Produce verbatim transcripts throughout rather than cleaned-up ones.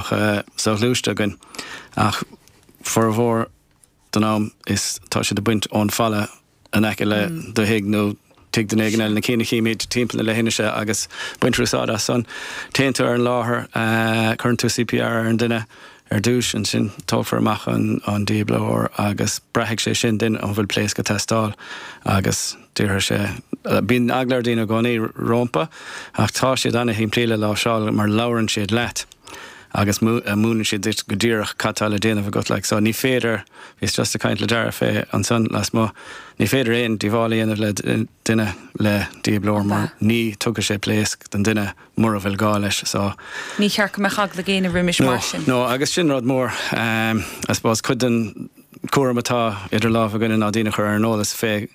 soghluaiste againn ach formhór den am is tá siad ag baint ón falla in aice le do thigh nó tigh duine éigin eile na cinn a chímid timpeall na leithinise agus baintear úsáid as san. Téann tú ar an láthair, cuireann tú CPR ar an duine ar dtús, ansin tógfar amach an an dífhibrileoir agus braithfidh sé sin duine an bhfuil pléasc ag teastáil agus déarfaidh sé bíonn eagla ar daoine i gcónaí rompu ach tá siad ana-shimplí le láimhseáil mar labhrann siad leat agus múineann siad duit go díreach cad tá le déanamh agat like so ní féidir bhíos just ag caint le Dara fé ansan lasmuigh ní féidir aon díobháil a dhéanamh le duine le dífhibrileoir mar ní tugfaidh sé pléasc don duine mura bhfuil gá leis so Ní cheart go mbeadh eagla ag éinne roimis mar sin. No agus sin rud mór um, I suppose cuid den cúram atá idir lámha againne ná daoine a chur ar an eolas fé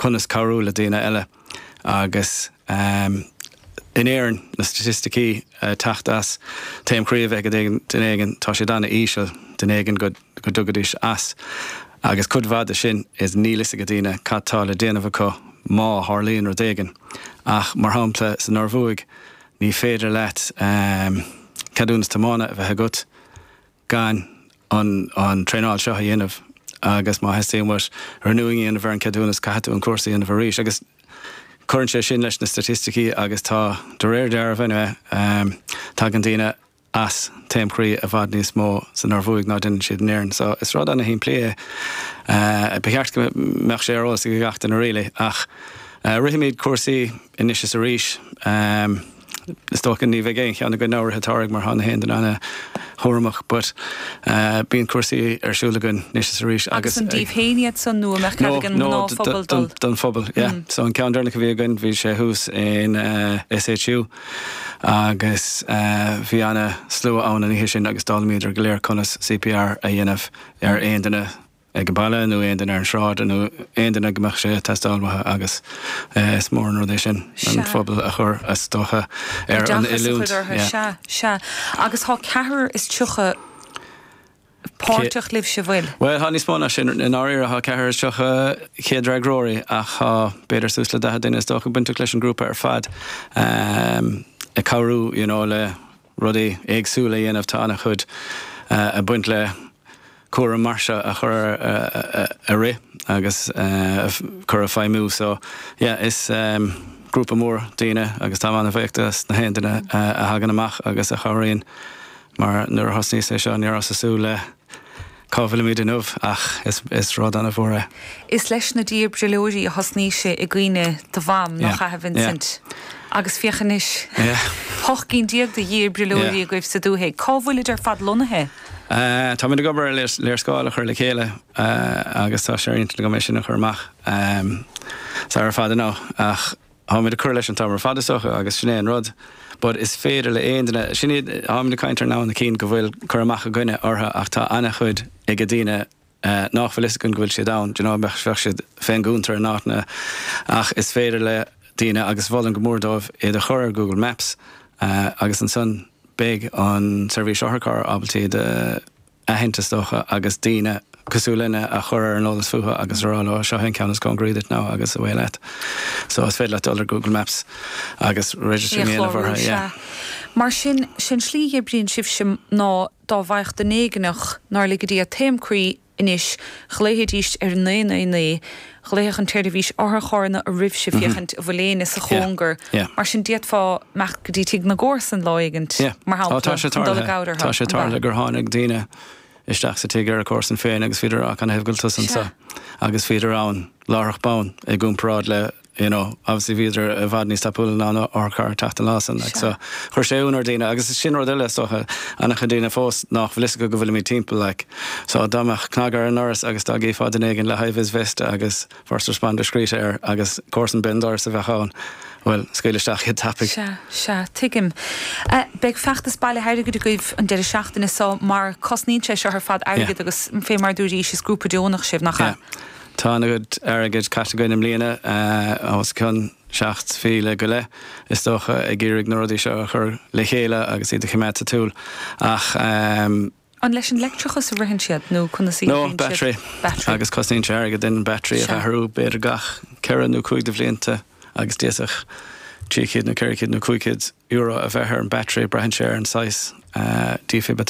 conas cabhrú le daoine eile agus um, in Éirinn na staitisticí uh, teacht as taom croí a bheith ag duine éigin tá siad an-íseal duine éigin go go dtugaidís as. Agus cuid mhaith de sin is níl fhios ag daoine cad tá le déanamh acu má tharlaíonn rud éigin. Ach mar shampla san Norvuaig ní féidir leat um, ceadúnas tiomána a bheith agat gan an, an traenáil seo a dhéanamh agus má theastaíonn uait renewing a dhéanamh ar an ceadúnas caithfidh tú an cúrsa a dhéanamh arís agus cuireann sé sin leis na staitisticí agus tá de réir dealraimh um, tagann daoine as taom croí i bhfad níos mó san Norvuaig ná déanann siad in Éirinn. So is rud ana-shimplí é uh, ba cheart go mbeadh sé ar eolas ag gach duine really ach uh, rithimid cúrsaí anois is arís um, is dócha ní bheidh aon cheann againn áirithe targ mar thána haon den ana-chúramach, but uh, bíonn cúrsaí ar siúl againn anois is arís Agus an daoibh féin iad san nó an mbeadh cead ag an ngnáthphobal dul. don phobal, yeah. Mm. So an ceann deireanach a bhí againn bhí sé thuas in uh, SHU agus uh, bhí ana-slua ann an oíche sin agus d'fhoghlaimíodar go léir conas CPR a dhéanamh ar aon duine ag an baile nó aon duine ar an sráid nó aon duine go mbeadh sé ag teastáil uathu agus uh, is mór an rud é sin an Sea. phobal a chur as dócha ar an Oideachas a oiliúint. chur orthu, yeah. Sea, sea. Agus tá ceathrar is tríocha páirteach libhse bhfuil. Well tá níos mó ná sin in áirithe tá ceathrar is tríocha chéadfhreagróirí ach tá b'fhéidir suas le daichead duine is dócha bainteach leis an grúpa ar fad um, ag cabhrú you know, le rudaí éagsúla a dhéanamh tá an-chuid uh, a baint le cúram mar seo a chur uh, a rith agus uh, chur a feidhmiú so yeah, is um, grúpa mór daoine agus tá an-bhuíoch dos na haon duine uh, a thagann amach agus a chabhraíonn mar nuair a thosnaíos é seo ní rabhas ag súil le cá bhfuilimid inniu ach is, is rud an-mhór é. Is leis na dífhibrileoirí a thosnaigh sé i gcuimhne do mham Yeah, nach ea Vincent. Agus féach anois Yeah. ocht gcinn déag de dhífhibrileoirí Yeah. agaibh sa dúthaigh. Cá bhfuilid ar fad lonnaithe? Uh, tá mé ag obair ar léarscáil a chur le chéile uh, agus tá sé go mé sin a chur amach um, sa ar fad ná ach tá mé ag cur leis an t-am ar fad is dócha agus sin é an rud. But is féidir le aon duine sin tá na caint ná na cinn go bhfuil cur amach againne orthu ach tá an-chuid ag daoine uh, nach bhfuil fhios acu go bhfuil siad ann, you know, bheadh siad féin gúntar nána ach is féidir le daoine agus mholfainn go mór dóibh iad a chur ar Google Maps uh, agus ansan beidh an seirbhís otharcharr ábalta iad a aithint is dócha agus daoine cosúil linne a chur ar an eolas fúthu agus rá leo seo an ceann is cóngaraí duit now agus away leat. So is féidir leat dul ar Google Maps agus register dhéanamh orthu, yeah. Mar sin sin slí a oibríonn sibhse ná dá bhfaigheadh duine éigineach nár lige Dia taom croí anois ghlaofaidís ar naoi naoi naoi, ghlaofadh an tseirbhís otharcharranna oraibhse féachaint an bhfuil éinne sa chóngar. Yeah. Mar sin d'fhéadfá imeacht go dtí tigh na gcomharsan lá éigint Yeah. mar Ó, tá sé dul tarlaithe. gabhar Tá sé tarlaithe gur tháinig daoine isteach sa tigh ar a comharsan féin agus bhíodar á can bhfuil tusa Sea. agus bhíodar ann láithreach bonn i gcomparáid le you know, obviously bhíodar i bhfad níos tapúla ná otharcharr teacht an lá san like, so chuir sé ionadh ar daoine agus is sin rud eile is dócha an-chuid daoine fós nach bhfuil fhios acu go bhfuilimid timpeall like. so dá mbeadh cnag ar an ndoras agus dá gcífeá duine éigin le high-vis vest agus first responder scríte air agus comharsan béal dorais a bheith ann. Well, scaoil isteach iad tapaidh. Sea, sea, tuigim. Uh, Beidh feachtas bailithe airgid agaibh an deireadh seachtaine seo mar cosnaíonn sé seo ar fad airgead Yeah. agus fé mar dúirt is grúpa deonach sibh nach Yeah. Tá an-chuid airgid caite againn i mbliana uh, os cionn seacht míle go leith is dócha ag iarraidh na rudaí seo a chur le chéile agus iad a choimeád sa tsiúl ach um, An leis an leictreachas a ritheann siad nó conas no battery Battery. agus cosnaíonn sé airgead an battery a Sea. athrú b'fhéidir gach ceithre nó cúig de bhlianta agus d'fhéadfadh trí chéad nó ceithre chéad nó cúig chéad euro a bheith ar an battery, braitheann sé ar an size uh, defib.